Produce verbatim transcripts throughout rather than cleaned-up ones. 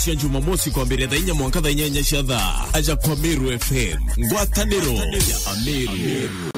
Cia Jumamosi kwambiria thaa inya mwanka thaa inyanya cia thaa. Aja kwa Meru F M. Ngwataniro ya Ameru.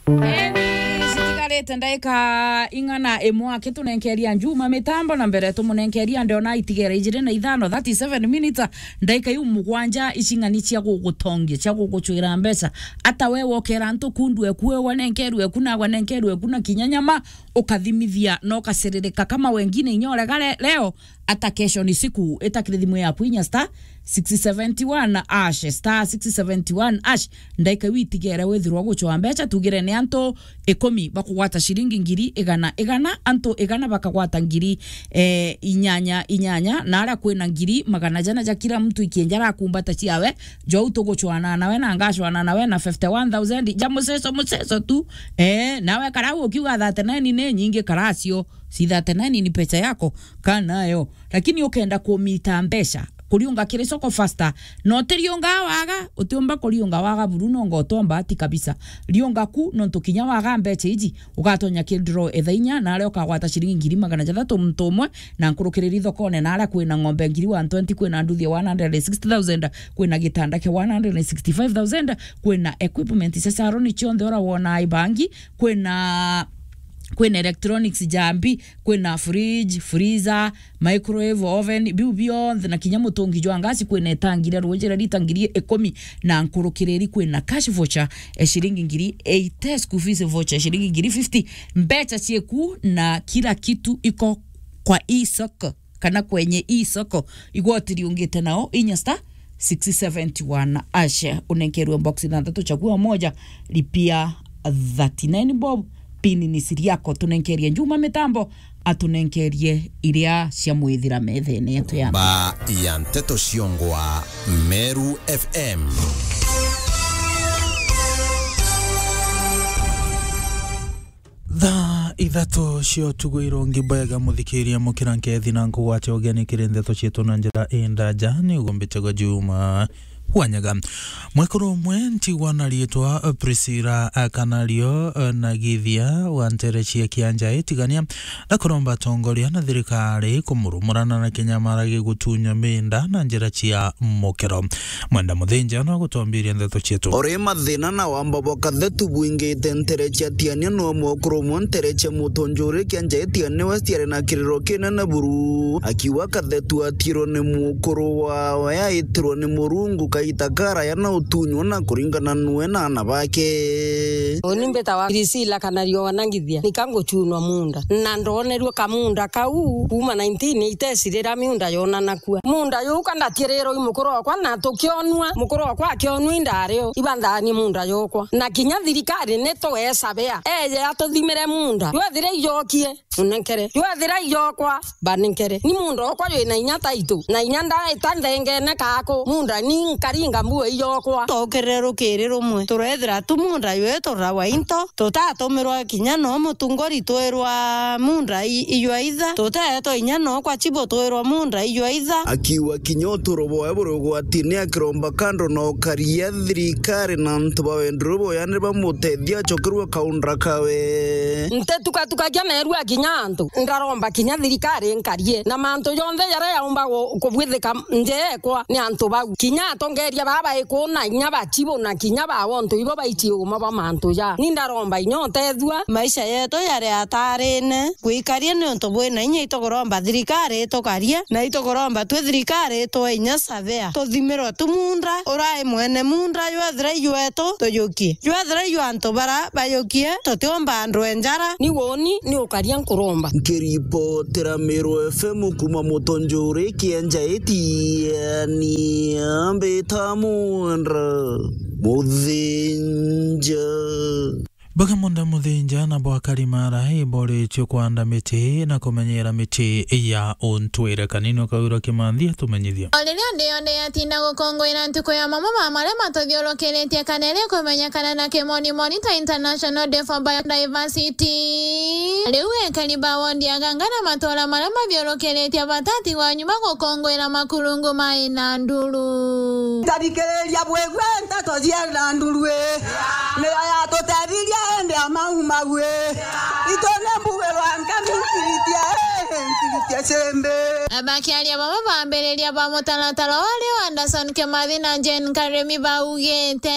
Eni, citigarite ndaika ing'ana imwe aki tunenkeria Njuma mitambo na mbere tumunenkeria ndona itigere ijiri na ithano, thirty-seven minutes, ndaika iu mugwanja icing'ani cia gugutongia, cia gugucwira mbeca. Ata we wokera antu kundwe kuwe wanenkerwe kuna wanenkerwe kuna kinya nyama, ukathimithia na ukaciririka kama wengine inya urega le-, leo, ata kesho ni siku, itakire thimu yaku inya star six seventy one hash, star six seventy one hash, ndaika iu itigere withirwa gucwa mbeca, tugire ni antu ikumi bakugwata ciringi ngiri igana igana, antu igana bakagwata ngiri, eh, inyanya inyanya, na aria kwina ngiri magana jana ja kila mtu ikienja arakumbata ciawe, jou tugucwana nawe na ngacwana nawe na fifty one thousand ja muceco muceco tu, eh, nawe karau ukiuga thirty nine ni nyingi karacio. Si thirty nine ni pesa yako, kaa nayo. Lakini ukenda kumita mbeca, kuriunga kiri soko faster. No utiriunga waga, utiumba kuriunga waga buru, no ngo utomba ati kabisa. Riunga ku, nontu kinya waga mbeca iji, ugatonya ki draw etha inya, na aria ukagwata ciringi ngiri magana jathatu muntu umwe, na nkurukiriri thokone, na aria kwina ng'ombe ngiri one twenty, kwina nduthi ya one hundred and sixty thousand, kwina gitanda kia one hundred and sixty five thousand, kwina equipment cia salon cionthe ura wona ibangi, kwina kwina electronics jambi, kwina fridge, freezer, microwave, oven, biu bionthe, na kinya mutungi jwa ngasi, kwina itangi ria ruuji ria lita ngiri ikumi na nkurukiriri, kwina cash voucher e ciringi ngiri eighty, school fees voucher ciringi ngiri fifty, mbeca cieku na kila kitu iko kwa isoko. Kana kwenye isoko, igoti riungite nao inya star six seventy one hash, unenkerwe box ithanthatu, chagua moja, lipia thirty nine bob, pin ni siri yako. Tunenkerie Njuma mitambo, atunenkerie iria cia mwithira methene yetu ya. Ba ya nteto ciongwa Meru F M. Thaa ithatu cia utuku irongi bwega, muthikiria mukira nkethi na nkugwate ugeni kiri ndeto cietu na njira indaja, ni ugumbite gwa Juma Wanyaga. Mwekuru umwe ntigwa na riitwa Priscilla Kanario na Githia wa ntere cia Kianja itigania na kuromba atongoria na thirikari kumurumurana na kinyamara gigutunya minda na njira cia mukiro. Mwenda Muthinja no gutwambiria ndeto cietu. Uri mathina na wamba bwa kathetu bwingite ntere cia Tiania, no mwekuru umwe ntere cia Mutonjuri Kianja Tiania West ari na kiriro kinene buru, akiuga kathetu atirwe ni mukuru wawe, aitirwe ni Murungu kaita karaya na utunywa na kuringana nwe na ana bake. Uni mbitawa Priscilla Kanario wa Nangithia, nika nguchunwa munda, na ndonerwe kamunda kau kuma nineteen eighties riria miunda yonanakua. Munda yuka ndatirirwe i mukuru wakwa, na tukionua, mukuru wakwa akionua indario, ibanthani munda yokwa. Na kinya thirikari ni tuesabea, eje atuthimire munda. Jwethire ijokie, unenkere. Jwethira iyokwa, banenkere. Ni munda okwa jwina inya taitu, na inya ndaita nthengene kaku. Munda ni nkaringa mbuo iyokwa. Tokirire rukiri rumwe, turethira tu munda jwetu rawa into, tutatumirwa kinya no mutungori twirwa munda i-, ijwa itha, tuteetwa inya no kwa chibo twirwa munda ijwa itha. Akiuga kinya uturo bwawe buri ugwatini, akiromba kando na ukaria thirikari na antu ba wenduru boya ni bamutethia acokerwe kaunda kawe. Ntetukatukagia neerua kinya antu, ndaromba kinya thirikari nkarie, na mantu jonthe jaria yaumba gu-, kubwithika njeekwa ni antu bau. Kinya atongeria baba ikuna inya bachibo na kinya ba wontu ibo baichie uma bwa mantu ja. Ni ndaromba inya utethua. Maisha yetu yari atarine. Gwikaria ni untu bwina inya, itukuromba thirikari itukarie, na itukuromba twi thirikari itwe inya savea. Tuthimirwe tu munda, urai mwene munda, jwethira ijwetu, tujukie. Jwethira ijwa antu bara bajukie, tutiumba andu e njara. Ni woni, ni ukaria nkuromba. Nkiripotera Meru F M kuma Mutonjuri Kianja Itiani, ambita Mwenda Muthinja. Baga Mwenda Muthinja na bwa Karimara iboritio kwanda miti na kumenyera miti ya untwire. Kanini Kaura Kimanthi atumenyithia. O riria nthi yonthe yatinda gukungwira ntuku ya mamwe ma maria matuthiurukiritie kana iria ikumenyekana na kimoni Monitor International Day for Biodiversity, riu ekari ba wondi ya Ganga na matura maria mathiurukiritie batati wa nyuma gukungwira makurungu mai na nduru. Tarikiriria bwigwe nteto cia na nduru ii. Nio yatutethirie hindi ya mau mau ii. Itu ni mbugirwa nkami nkiritia ii. Bakiaria baba bambiriria ba mutaratara uria Anderson Kimathi na Jane Karemi baugite,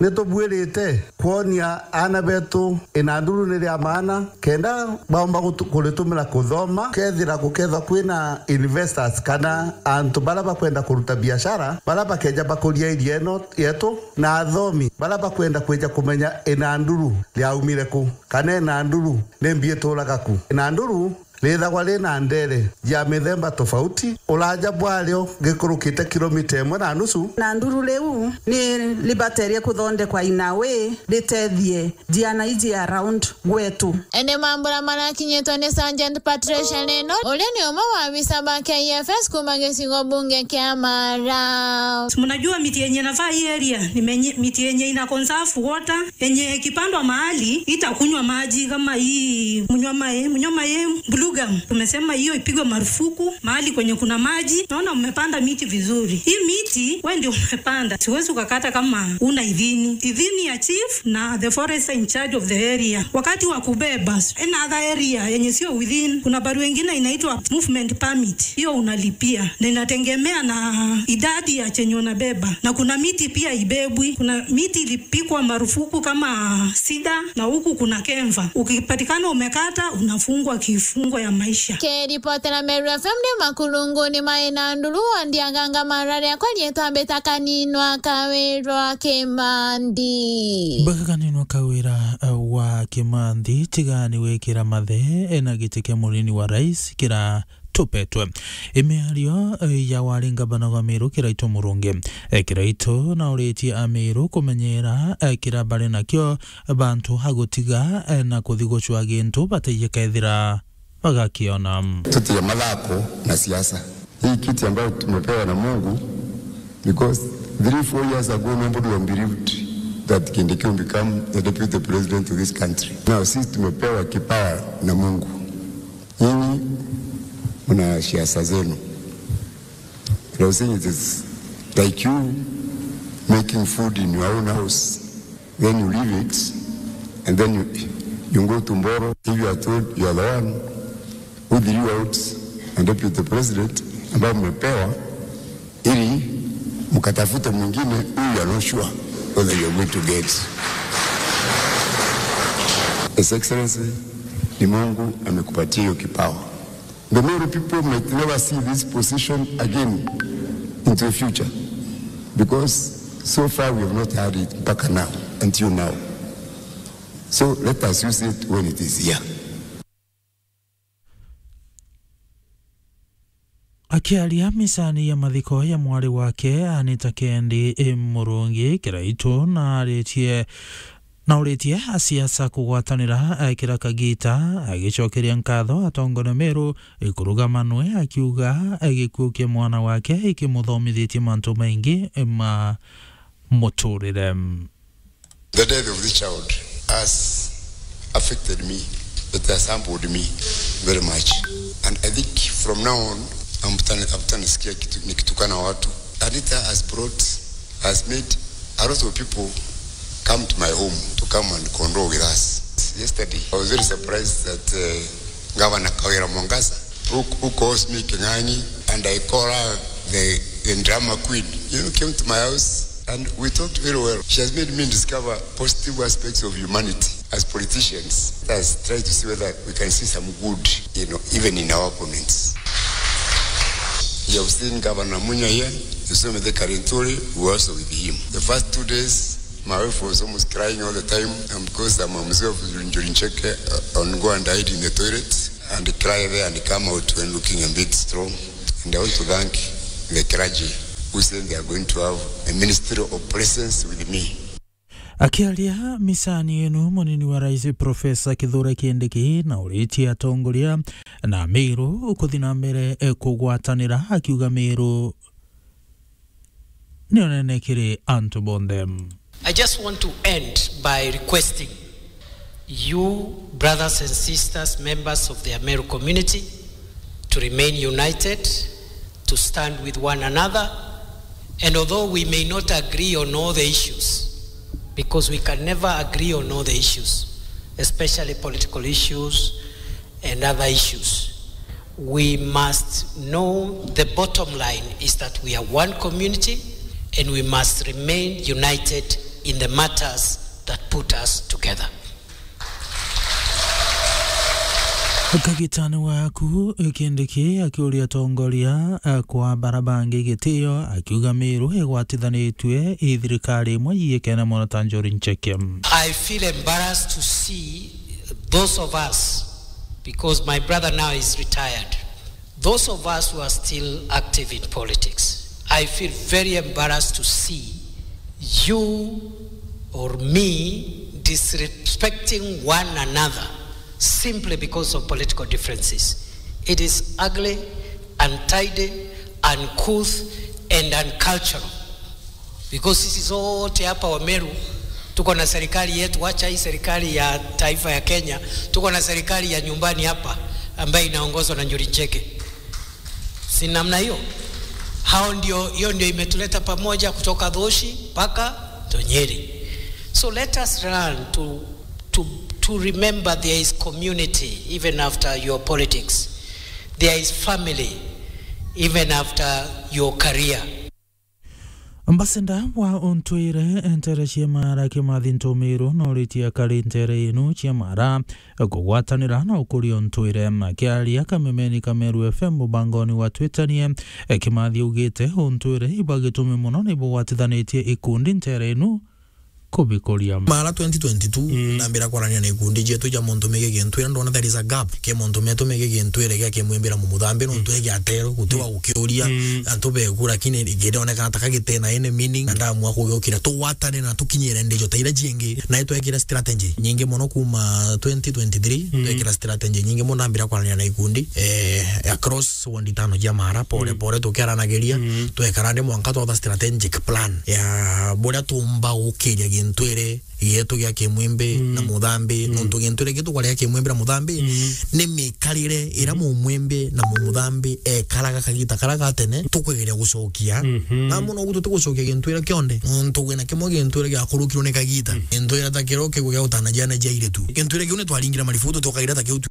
nitubuirite kwonia aana betu inanduru ni ria maana kenda baumba gutu-, kuritumira kuthoma, kethira gukethwa kwina investors kana antu baria bakwenda kuruta biashara, baria bakeja bakuria area ino yetu, na athomi baria bakwenda kwija kumenya inanduru riaumire ku, kana inanduru ni mbi ituraga ku. Inanduru rithagwa rina ndere ya mithemba tofauti, uraja bwario gikurukite kilomita imwe na nusu. Inanduru riu ni ribaterie kuthondekwa in a way ritethie ciana iji around gwetu. Ene mambura marakinyitwe ni Sergeant Patricia Leno, uria ni umwe wa abisa ba K F S kuma gicigo bunge kia Mara. Mnajua miti yenye inafaa hii area ni menye-, miti yenye ina conserve water, yenye ikipandwa mahali itakunywa maji kama hii mnywa mae, mnywa mae, blue gum. Tumesema hiyo ipigwe marufuku mahali kwenye kuna maji. Naona mmepanda miti vizuri. Hii miti wewe ndio umepanda. Siwezi ukakata kama una idhini. Idhini ya chief na the forester in charge of the area. Wakati wa kubeba, another area yenye sio within, kuna barua ingine inaitwa movement permit. Hiyo unalipia. Na inategemea na idadi ya chenye unabeba. Na kuna miti pia ibebwi. Kuna miti ilipigwa marufuku kama sida, na huku kuna kemva. Ukipatikana umekata, unafungwa kifungo ya maisha. Kiripotera Meru F M ni makurunguni ma inanduru, Wandiaganga Mara, riakwa rietwa Mbita Kaninwa Kawirwa Kimandi. Mbita Kaninwa Kawira, eh, wa Kimandi, tigani wikira mathe, eh, na giti kia munini wa rais kira tupetwe. Imiario, eh, ya wari ngavana wa Meru Kiraitu Murungi. Eh, Kiraitu nauritie Ameru kumenyera, eh, kira bari nakio bantu ha gutiga, eh, na kuthi gucwa gintu bataiye kethira bagakiona. Tutige mathako na siasa. Hii kiti ambayo tumepewa na Mungu, because three, four years ago, nobody would have believed that Kindiki will become the deputy president of this country. Now, sisi tumepewa kipawa na Mungu. Nyinyi mna siasa zenu. And I was saying it is like you making food in your own house, then you leave it, and then you, you go to Mboro. If you are told you are the one who drew out and deputy president, ambao mmepewa, ili mkatafute mwingine who you are not sure whether you are going to get. His Excellency, ni Mungu amekupatia hiyo kipawa. The Meru people might never see this position again into the future, because so far we have not had it mpaka now, until now. So let us use it when it is here. Akiaria misani ya mathiko ya mwari wake Anita Kendi, e, Murungi Kiraitu, na aritie, na uritie asiasa kugwatanira, e, kira kagita, agicokeria nkatho atongoria Meru, e, kurugama nwe, akiuga, e, gikuu kia mwana wake ikimuthomithitie mantu maingi, e, ma muturire. The death of this child has affected me. It has humbled me very much. And I think from now on, hamtani-, hamtanisikia kitu-, nikitukana watu. Anita has brought, has made a lot of people come to my home to come and condole with us. Yesterday, I was very surprised that, uh, Governor Kawira Mwangaza, who, who calls me King'ang'i, and I call her the, the drama queen, you know, came to my house and we talked very well. She has made me discover positive aspects of humanity as politicians. Let us try to see whether we can see some good, you know, even in our opponents. You have seen Governor Munya here, you saw Mithika Linturi, we were also with him. The first two days, my wife was almost crying all the time, and because I'm a mzee of Njuri Ncheke, uh, on go and hide in the toilet and cry there and come out when looking a bit strong. And I want to thank the clergy who said they are going to have a ministry of presence with me. Akiaria misani inu, munini wa rais Professor Kithure Kindiki na uritie atongoria na Meru kuthi na mbere, eh, kugwatanira, akiuga Meru ni unene kiri antu bonthe. I just want to end by requesting you, brothers and sisters, members of the Ameru community, to remain united, to stand with one another, and although we may not agree on all the issues, because we can never agree on all the issues, especially political issues and other issues, We must know the bottom line is that we are one community and we must remain united in the matters that put us together. Kagitani waku Kindiki akiuria atongoria, eh, kwa bara bangi gitio, akiuga Meru igwatithanitue i thirikari imwe yiikene mono ta Njuri Ncheke. I feel embarrassed to see those of us, because my brother now is retired, those of us who are still active in politics, I feel very embarrassed to see you or me disrespecting one another simply because of political differences. It is ugly, untidy, uncouth, and uncultural. Because sisi zote hapa Wameru tuko na serikali yetu, wacha hii serikali ya taifa ya Kenya, tuko na serikali ya nyumbani hapa ambayo inaongozwa na Njuri Ncheke. Si namna hiyo? Hao ndio, hiyo ndio imetuleta pamoja kutoka Dhoshi mpaka Tonyeri. So let us learn to, to, to remember there is community even after your politics. There is family even after your career. Ambassador wa untwire ntere cia Mara Kimathi Ntumiru noritie akari ntere inu cia Mara kugwatanira na ukuria untwire. Akiaria kamemeni ka Meru F M mubangoni wa Twitanie, Kimathi augite untwire ibwa gitumi mono ni bugwatithanitie ikundi ntere inu kubikuria. Mara twenty twenty-two, mm, nambira kwarania na ikundi cietu cia muntu mege gintwire, ndona there is a gap ke muntu metu mege gintwire gia kimwimbira mumuthambi nontu, mm, ege atero guti wa gukiuria, mm, antu beku, lakini githonekana ta kagite na ene meaning, na ndamua kugiukira tugwatane na tukinyire ndijo ta ira jingi, na itwekira strategy nyingi mono kuma twenty twenty-three, mm, twekira strategy nyingi mono, nambira kwarania na ikundi, eh, across ward itano cia Mara, pore, mm, pore tukiaranagiria, mm, twekara ndi mwanka twatha strategic plan ya buria tumba gukiria gintwire gietu gia kimwimbi, mm, na muthambi, mm, nontu gintwire gietu kwaria kimwimbi na muthambi, mm, ni mikarire ira, mm, mumwimbi na mumuthambi ekaraga kagita kara ga tene tukwigeria gucokia. Mhm. Na mono gutu tugucokia gintwire kionde, nontu gwina kimwe gintwire giakurukirwe ni kagita. Mm. Gintwire ta kiria ukigua gia gutana ciana cia airitu. Gintwire kiu ni twaringire marifutu tukagira ta kiu tu.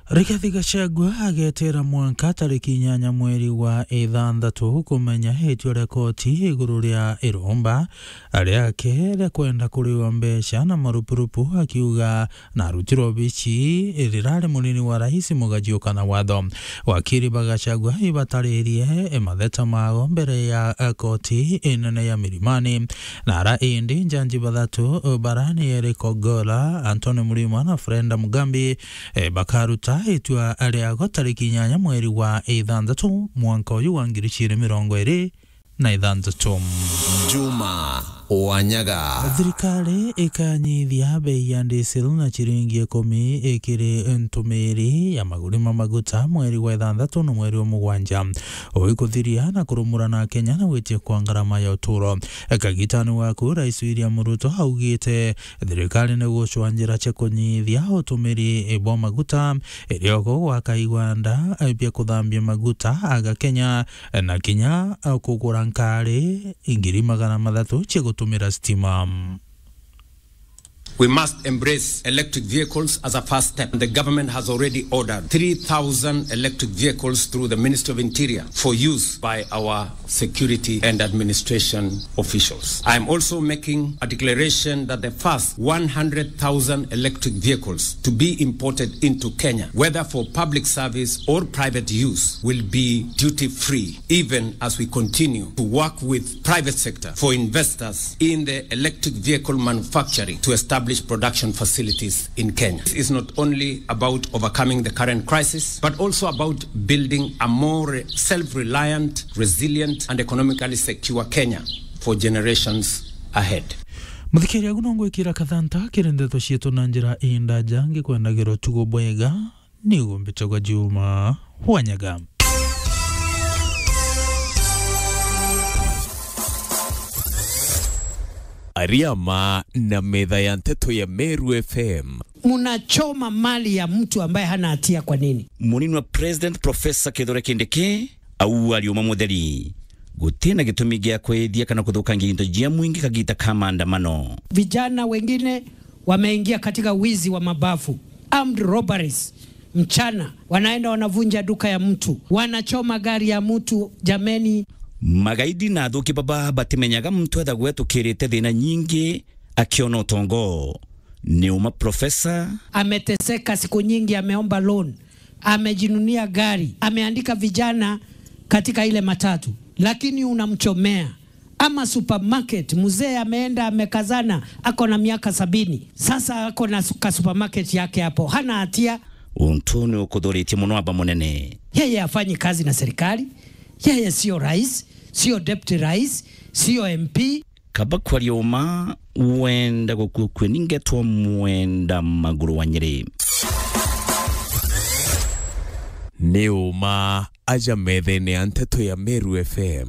Rigathi Gachagua agetera mwanka tariki inyanya mweri wa ithanthatu kumenya itua ria koti iguru ria iromba riake ria kwenda kuriwa mbeca na marupurupu, akiuga na arutirwe obici rirari munini wa rais mugajiuka na watho. Wakiri ba Gachagua ibataririe matheta mao mbere ya, eh, koti inene ya Milimani. Na ara indi njanji bathatu, bara ni Eric Ogola, Anthony Mrima na Freda Mugambi, eh, bakaruta itua riago tariki inyanya mweri wa ithanthatu mwanka uyu wa ngiri igiri mirongo iri na ithanthatu. Juma Wanyaga. Thirikari ikanyithia bei ya diesel na ciringi ikumi ikiri ntumiri ya maguri ma maguta mweri wa ithanthatu na mweri wa mugwanja, ui kuthiria na kurumura na Kenya na gwitia kwa ngarama ya uturo. Kagitani waku, Rais William Ruto augite thirikari ni gucwa njira cia kunyithia utumiri bwa maguta, iriogo gwaka igwanda bia kuthambia maguta aga Kenya, na kinya kugura nkari ngiri magana mathatu cia gutumira stima. We must embrace electric vehicles as a first step. The government has already ordered three thousand electric vehicles through the Ministry of Interior for use by our security and administration officials. I am also making a declaration that the first one hundred thousand electric vehicles to be imported into Kenya, whether for public service or private use, will be duty-free, even as we continue to work with private sector for investors in the electric vehicle manufacturing to establish production facilities in Kenya. This is not only about overcoming the current crisis, but also about building a more self-reliant, resilient, and economically secure Kenya for generations ahead. Muthikiria, agu no ngwikira kathanta kiri ndeto cietu na njira indaja, ngikwendagirwa tugo bwega. Nigo mbitagwa Juma Wanyaga. Ariama na metha ya nteto ya Meru F M. Munachoma mali ya mtu ambaye hana hatia kwa nini? Munini wa President Professor Kithure Kindiki au ariuma mutheri. Gutina gitumi gia kwithia kana kuthukangia into jia mwingi kagita ka maandamano. Vijana wengine wameingia katika wizi wa mabafu, armed robberies. mchana, wanaenda wanavunja duka ya mtu, wanachoma gari ya mtu, jameni. Magaidi na athuki baba batimenyaga muntu ethagwa etukirite thina nyingi akiona utongo. Ni uma profesa. Ameteseka siku nyingi, ameomba loan, amejinunia gari, ameandika vijana katika ile matatu, lakini unamchomea. Ama supermarket, mzee ameenda amekazana, ako na miaka sabini. Sasa ako na su-, ka supermarket yake hapo. Hana hatia. Untu ni ukuthuritie muno aba munene. Yeye hafanyi kazi na serikali. Yeye sio rais, sio deputy rais, sio M P. Kaba kwaria uma, wenda gukua kwe ningetwa mwenda maguru wa Nyeri. Ni uma aja methene ya nteto ya Meru F M.